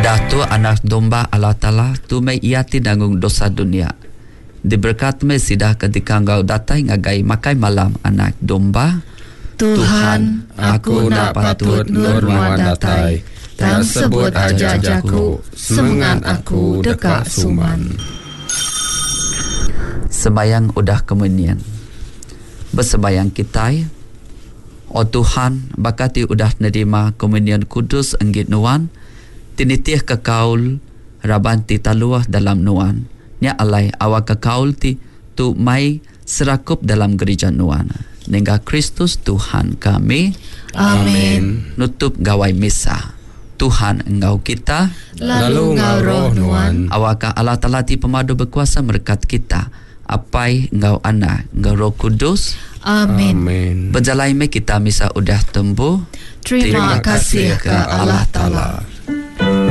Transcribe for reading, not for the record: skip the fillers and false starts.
Peda tu Anak Domba Allah Taala, tu meh Iya ti nanggung dosa dunya. Diberekat meh sida ke dikanggau datai ngagai makai malam Anak Domba. Tuhan, aku enda patut endur nuan datai, tang sebut aja jaku, semengat aku deka suman. Sembayang udah komunion. Besembayang kitai, O Tuhan, baka ti udah nerima komunion kudus enggi Nuan, ti nitihka kaul raban ti taluh dalam Nuan, nya alai awakka kaul ti tu mai serakup dalam gerija Nuan. Nengah Kristus Tuhan kami. Amin. Nutup gawai misa. Tuhan enggau kita. Lalu enggau roh nuan. Awakka Allah Taala ti pemadu bekuasa merekat kita, Apai enggau Anak enggau Roh Kudus. Amin. Amen. Bejalai meh kita misa udah tembu. Terima kasih ke Allah Taala.